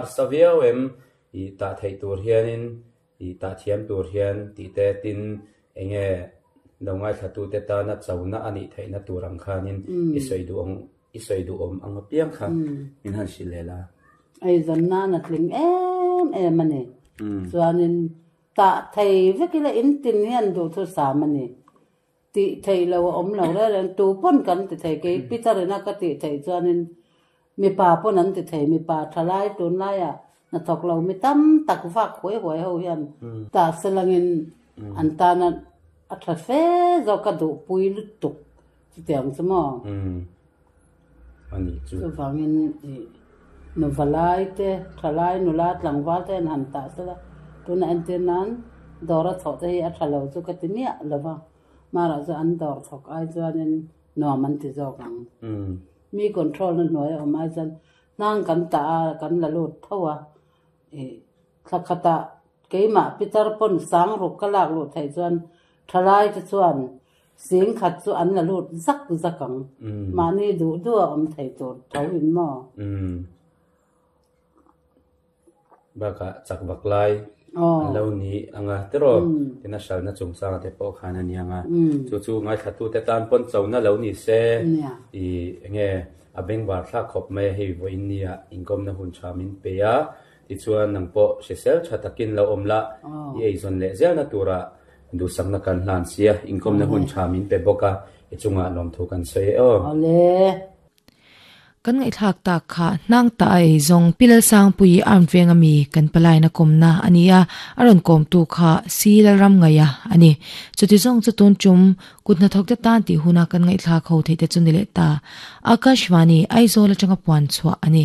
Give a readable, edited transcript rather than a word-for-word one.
Harsa viau em i tah theih tur hianin i tah thiam tur hian tih te tin enge lo ngaithlatute tana chona a nih theihna tur ang khanin i sawi duh ang i sawi duhawm ang apiang kha min han hrilh leh la. Eizawn nan a tling em em a ni. Chuanin tah thei vek ila in tin hian duhthusam a ni. Tih theih lo a awm lo reng reng, tu pawn kan ti thei, kei Peter ina ka tih theih chuanin mipa pawn an ti thei, mipa thalai tunlaiah hnathawk lo mi tam tak vak huai huai ho hian tah selangin an tana a tha fe zawk ka duhpui lutuk chutiang chu maw? Chuvangin ih nuva lai te, thalai nula tlangval te an han tah sela, tunah entir nan dawr a thawh te hi a tha lo chu ka ti miah lo va, hmarah chuan an dawr thawk ai chuanin nuam an ti zawk ang. Mi control na hnuai a awm ai chuan hnang kan tah a, kan la lut tho a, ih thla khatah keimah pitar pawn sang ruk ka lak luh theih chuan thalai te chuan Sing khat chu an la lut zak zak ang. Mahni duh duh a awm thei tur tho in maw? Bakah chak vak lai an lo ni ang a tiraw? Tin a hralna chungchanga te pawh khan a ni ang a. Chu chu ngaithlatute tan pawn chona lo ni se i enge a bengvar thlak khawp mai a hei vawiin nia inkawmna hun tha min pe a. Tichuan nang pawh hrisel tha takin lo awm la i eizawn leh zelna turah Duhsakna kan hlan sia, inkawmna hun tha min pe bawk a, i chungah lawmthu kan sawi e aw. Awle. Kan ngaihthlak tak kha hnang ta a ei zawng Pi Lalsangpuii arm venga mi kan palaina kawmna a ni a, a rawn kawmtu kha Si Lalramngaia a ni. Chuti zawng chu tun tum kut hnathawk te tan tih huna kan ngaihthlak ho theih te chu ni leh ta. Akashvani, Aizawl atanga puan chhuah a ni.